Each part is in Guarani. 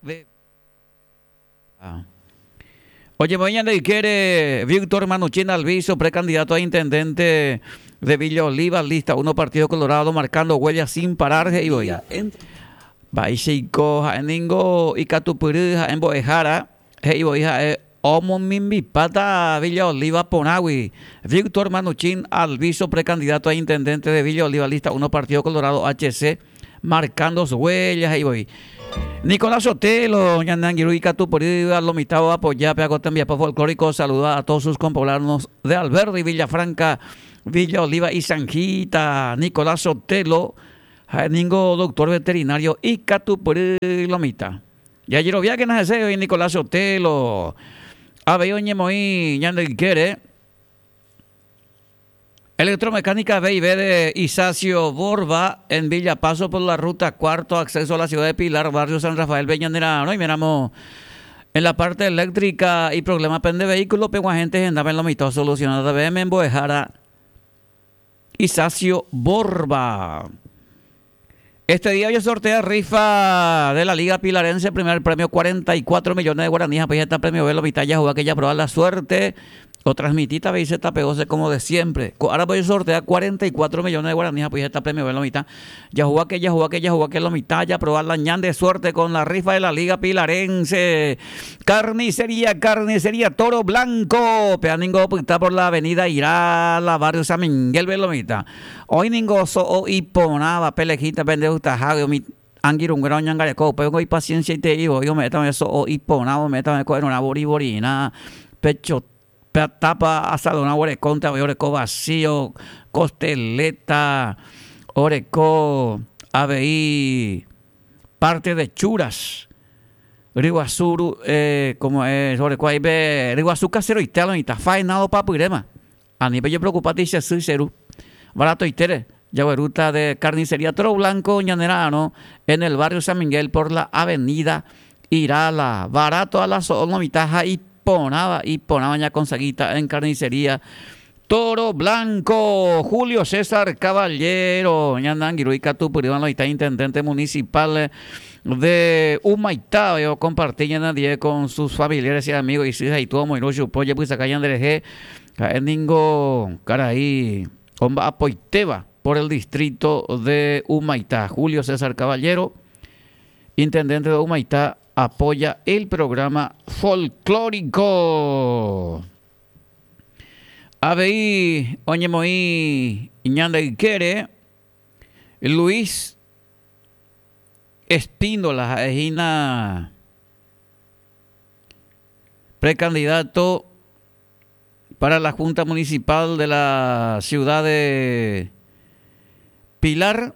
De Oñemoĩ ñande ykére Víctor Manuchín Alviso, precandidato a intendente de Villa Oliva, lista 1 Partido Colorado, marcando huella sin parar, he'i voi. Mba'eichaiko ha'e ningo ikatupyry ha'e mbo'ehára, he'i voi ha'e omomimbipáta Villa Oliva porãgui. Víctor Manuchín Alviso, precandidato a intendente de Villa Oliva, lista 1 Partido Colorado, HC, marcando su huella, he'i voi. Nicolás Sotelo, ñane angirũ ikatupyrýva, lo mitã oapoya pe ako tembiapo folclórico, saluda a todos sus compoblanos de Alberdi, Villa Franca, Villa Oliva y Zanjita. Nicolás Sotelo, ha'e ningo doctor veterinario ikatupyry lo mitã. Jajeroviákena hese oĩ Nicolás Sotelo, avei oñemoĩ ñande ykére. Electromecánica B&B de Isacio Borba en Villa Paso por la ruta cuarto acceso a la ciudad de Pilar, barrio San Rafael, Peñanera. Oiméramo en la parte eléctrica y problema pende vehículo, peguahẽnte hendápe lo mitã solucionada BM mbo'ehára Isacio Borba. Este día hoy sortea rifa de la Liga Pilarense, primer premio 44 millones de guaraníes, pues está premio velo mitad ya juega que ya probar la suerte. O transmitita veis esta pegose como de siempre. Ahora voy a sortear 44 millones de guaraníes, pues está premio velo mitad. Ya juega que ya juega que ya juega que lo mitad, ya probar la ñan de suerte con la rifa de la Liga Pilarense. Carnicería, carnicería Toro Blanco. Peaningo está por la avenida Irala, barrio San Miguel, Belomita. Oĩ ningo so'o iporãva pe lejita pende gustahágui umi angirũnguéra oñangareko upéi oiko ipasiensiaiterei voi ome'ẽta umi so'o iporãva ome'ẽta umi ko'ẽrõrã vori vorirã pecho pe tapa asadorã oguerekónte avei oreko vacío costeleta oreko avei parte de churas ryguasu ru como es oreko ahí pe ryguasu caseroite alomitã faenado papyréma Ani pejepreokupáti che sy, che ru. Baratoitére, jaguerúta de Carnicería Toro Blanco ñane ra'arõ en el barrio San Miguel por la avenida Irala. Barato a la so'o lo mitã ha iporãva, iporãva ñakonseguíta en Carnicería Toro Blanco. Julio César Caballero, ñane angirũ ikatupyrýva lo mitã intendente municipal de Humaitá, okomparti ñane ndive con sus familiares y amigos isy ha itúva omoirũ chupe ojepysaka ñanderehe. Ha'e ningo karai omba'apoitéva por el distrito de Humaitá. Julio César Caballero, intendente de Humaitá, apoya el programa folclórico. Avei oñemoĩ ñande ykére Luis Espíndola ha'e hína precandidato para la Junta Municipal de la ciudad de Pilar.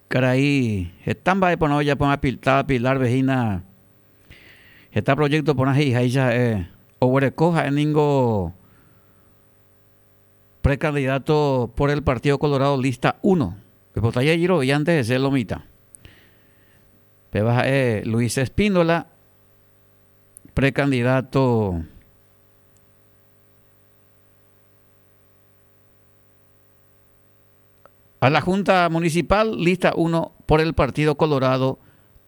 Karai heta mba'e porã ojapo táva Pilar-pe hína heta proyecto porã he'iháicha ha'e oguereko ha'e ningo precandidato por el Partido Colorado lista 1. Oipota jajeroviánte hese lo mitã. Péva ha'e Luis Espíndola, precandidato a la Junta Municipal, lista 1 por el Partido Colorado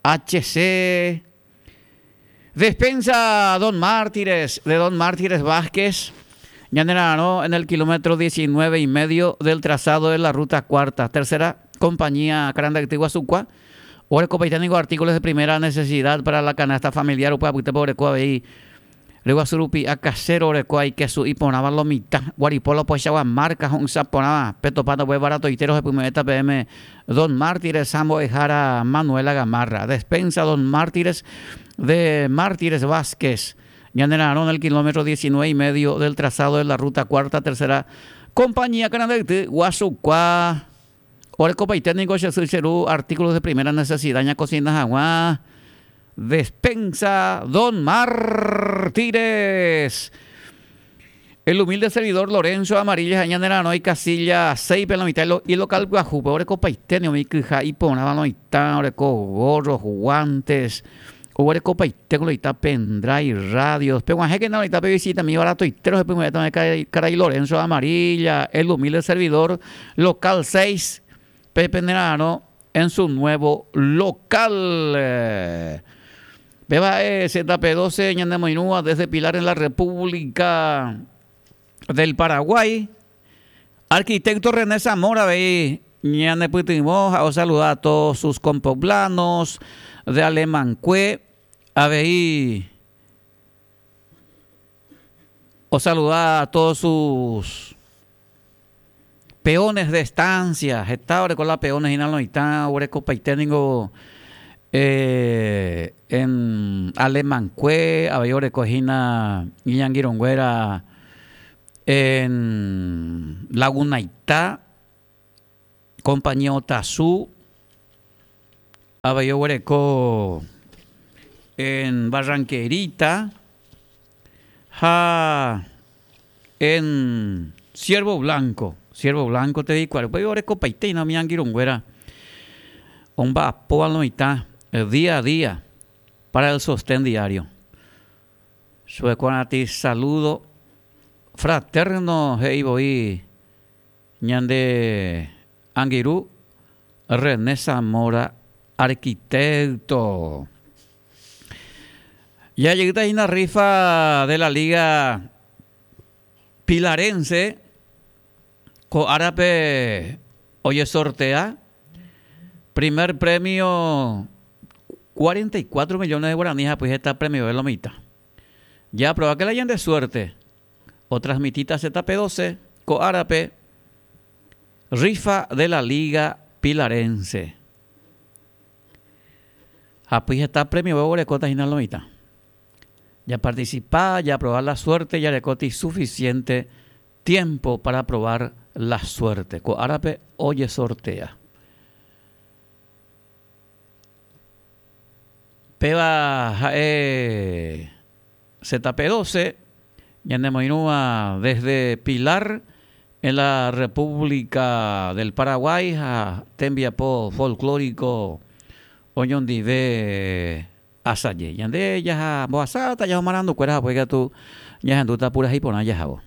HC. Despensa Don Mártires, de Don Mártires Vázquez, ñanera'arõ en el kilómetro 19 y medio del trazado de la ruta cuarta, tercera compañía Carandacty Guasukua. Orekopaite ningo artículos de primera necesidad para la canasta familiar upe apytépe oreko avei ryguasu rupi'a casero oreko aikesu iporãva lo mitã guaripóla opaichagua marca ho'ysã porãva petopáta upe baratoite rohepyme'ẽta peẽme Don Mártires ha mbo'ehára Manuela Gamarra Despensa Don Mártires de Mártires Vázquez ñanera'arõ en el kilómetro 19 y medio del trazado de la ruta cuarta tercera compañía Carandayty Guasukua Orekopaite ningo che sy che ru artículos de primera necesidad ñakosina hag̃ua Despensa Don Mártires. El humilde servidor Lorenzo Amarilla ha ñanera'arõ ikasilla 6-pe la mitad ilocal pyahúpe orekopaite ni umi kyha iporãva loĩtã oreko gorros, guantes, oguerekopaite ko loĩtã pendrive, radios. Peg̃uahẽkena loĩtã pevisitami baratoite rohepyme'ẽta karai Lorenzo Amarilla, el humilde servidor local 6 pe penera'arõ. en su nuevo local. Péva ha'e ZP12 ñanemoirũva desde Pilar en la República del Paraguay. Arquitecto René Zamora avei ñanepytyvõ ha osaluda a todos sus compoblanos de Alemancue avei osaluda a todos sus peones de estancia, heta oreko la peones hína loĩtã oguerekopaite ningo en Alemancue avei oreko hína iñangirũnguéra en Lagunaita, Compañía Otazú, avei oguereko en Barranquerita ha en Ciervo Blanco, Ciervo Blanco te reikuaa, upéi orekopaite hína umi angirũnguéra omba'apóva lo mitã día a día para el sostén diario. Chuekuarãti saludo fraterno he'i voi ñande angirũ René Zamora arquitecto. Jajeýta hína rifa de la Liga Pilarense ko árape ojesortea primer premio 44 millones de guaraní ha heta premio lo mitad. Ya prueba que la de suerte. O transmitita ZP12 ko árape rifa de la Liga Pilarense. Ha heta premio oguerekóta hína lo mitad. Ya participa, ya probar la suerte, ya rekóti suficiente tiempo para probar la suerte. Ko árape ojesortea. Péva ha'e ZP12 ñanemoirũva desde Pilar en la República del Paraguay ha tembiapo folclórico oñondive asaje. Ñande jaha mbohasáta jaho marandukuéra ha upéi katu ñahendúta purahéi porã jahávo.